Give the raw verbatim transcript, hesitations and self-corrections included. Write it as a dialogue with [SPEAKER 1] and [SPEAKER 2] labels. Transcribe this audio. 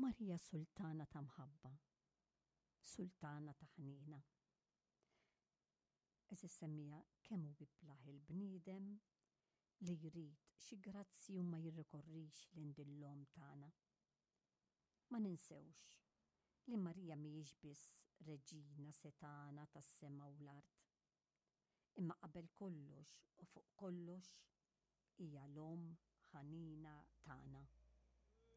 [SPEAKER 1] Marija sultana ta' mħabba, sultana ta' ħniena. Għeżież semmiegħa, kemm hu iblah il-bniedem li jrid xi grazzi u ma jirrikorrix lil din l-omm tagħna. Ma ninsewx li Marija mhijiex biss reġina setgħana tas-sema u l-art. Imma qabel kollox u fuq kollox hija l-omm ħanina tagħna.